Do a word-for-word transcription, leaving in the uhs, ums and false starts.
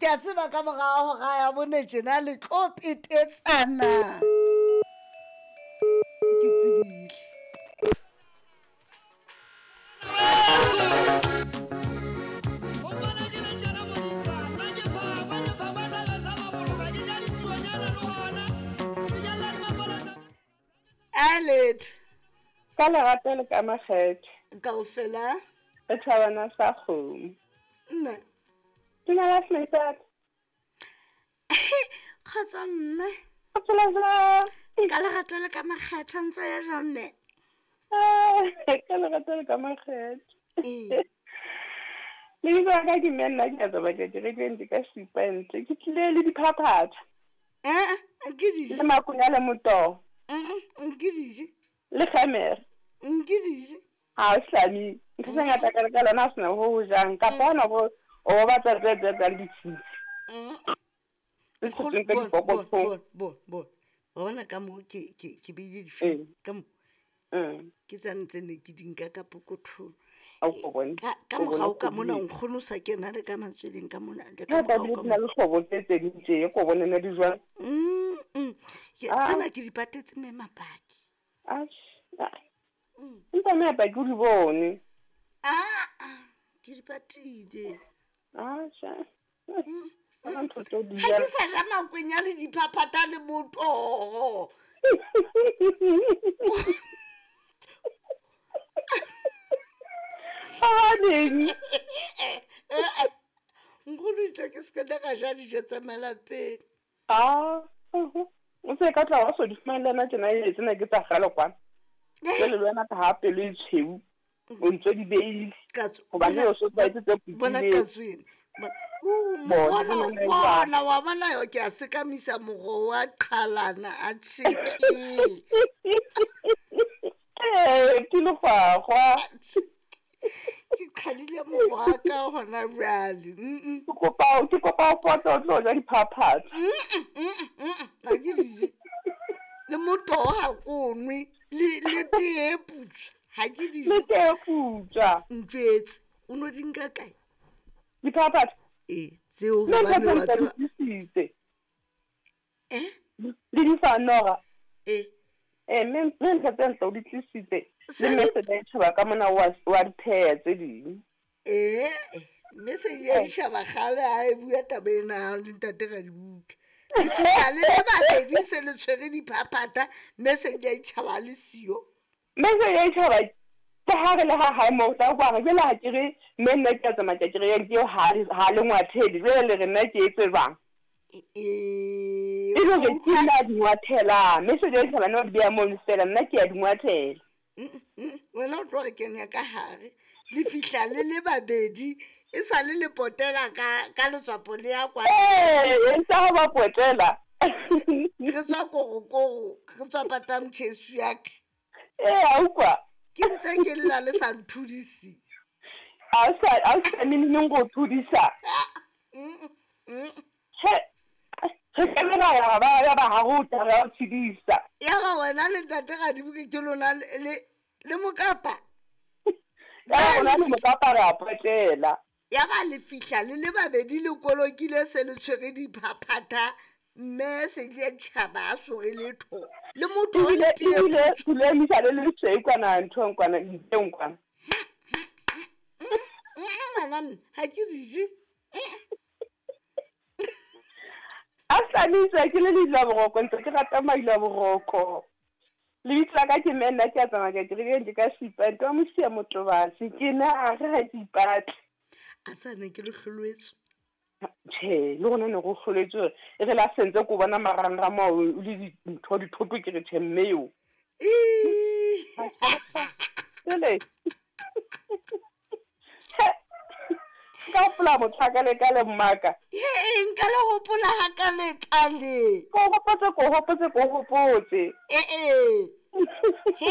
Ke a tseba ka morago ga ya bone tjena le tlo petetsana. Ke tsebile. Aled. Ka lerato le ka makgethe. Kaofela. Re thabana sa kgomo. Mme. Dumela Smithard. Kgotsa mme. O phela jwang? Ka lerato le ka makgethe ntse ya jwang mme? Ka lerato le ka makgethe. Ee. Lebitso la ka ke mme nna ke a tsamaya ke re ka supa ntle. Ke tlile le diphaphatha. Eh, ke di. Le makunya le motoho. Nke dije. Le kgemere. Nke dije. Ha o hlame. Ntho tse ngata ka ka lona ha sena ho ho jang. Kapa hona ho o batla tse tse tsa ditshintshi. Le Nkgono, tse tsa bon, bon, dipokothong. bon, bon, bon. Wa bona ka moo ke ke ke beile dife ka mo. Mm. Ke tsane tse ne ke di nka ka pokothong. A o bone. Ka ka O bone morao ka mona kgwedi. nkgono o sa kena le ka matsweleng ka mona le ka Ha morao tlamehile ka di na mona. le hlobo tse tse ding tje, ko bone ne di jwang. Mm, mm. Ke Ah. tsena ke di patetse mme mapaki. Atjhe. Ah. Mm. Empa mme Paki o di bone. Ah, ah, ke di patile. Atjhe. Hona ntho tseo di Ha jang. ke sa ja makwenya le diphaphatha le motoho. Hobaneng? Nkgono itse ke se ke ka ja dijo tsa malapeng. Ah. O se ka tla wa so di fumane le wena tjena e tsena ke tsa kgale kwana. Jwale le wena ka ha pelo e tshweu. O ntso di beile. Katso. Hobane o so tlwaetse tse Bona putileng. katso ena. Bona, Bona, bona, bona, bona, wa bona yo ke a sekamisa moro wa qhalana a tjheke. Eh, ke legwagwa. Ke qhadile moro wa ka hona jwale. Mm, Ke kopa ke kopa o pote o tlo ja diphaphatha. mm, mm, mm, Ha ke dije. Le motoho ha ko nwe, le le tee e putswa. Ha ke dije. Le tee putswa. Ntjwetse, o no di nka kae? Diphaphatha. Ee, tseo Le hobane wa ntho tse tseba. di tlisitse. Eh? Le di fa nora. Eh. Eh, mme mme ntho tse ntle o di tlisitse. Le Se mme se di tjhaba ka mona wa wa di pheha tse ding. Eh, mme se ya ditjhaba kgale ha e bua taba ena ya le ntate Radibuka. Le fihla le le babedi se le tshwere diphaphatha, mme se di a ditjhaba le siyo. Mme se ya tjhaba ke ha re le ha hae moo tla kwa re jwale ha ke re mme nna ke a tsamaya ke re ke ha ha le ngwathele jwale le re nna ke etse jwang. Eh, E le hore ke nna a di ngwathela mme se di tjhaba nna o di beha mono fela nna ke a di ngwathela. Mm, mm, wena o tlo re kenya ka hare. Le fihla le le babedi, e sa le le potela ka ka letswapo le ya kwa. Eh, e ntse ha ba potela. Re tswa korokoro, re tswa pata motjheso ya ka. Eh, a utlwa. Ke ntse ke lla le sa nthudise. A o sa a o sa neng go thudisa. Mm, mm. He, re kemela ya ba ya ba ha go tla re o tshedisa. Ya ba wena le ntate Radibuka ke lona le le le mokapa. Ya rona le mokapa re a potela. Ya ba le fihla le le babedi le kolokile se le tshwere diphaphatha, mme se di a tjhaba a so re letho. Le motho wa Ebile le tee ebile le emisa le le tshweu kwana nthong kwana nteng kwana. Mm, ngwana mme, ha ke dije. A hlalisa ke le leilo la boroko ntse ke rata mailo a boroko. Lebitso la ka ke mme nna ke a tsamaya ke re ke ka sipa nto wa mosia motobase ke na re ha ke ipatle. A tsane ke le hlolwetswe. Tjhe, le rona ne re hloletswe hore e re la sentse ko bona marangrang ao o le dintho dithoto ke re tjhe mme eo. Ii. Jwale ka hopola motho a ka le ka le mmaka. He, nka le hopola ha ka le ka le. Ko hopotse ko hopotse ko hopotse. Eh eh.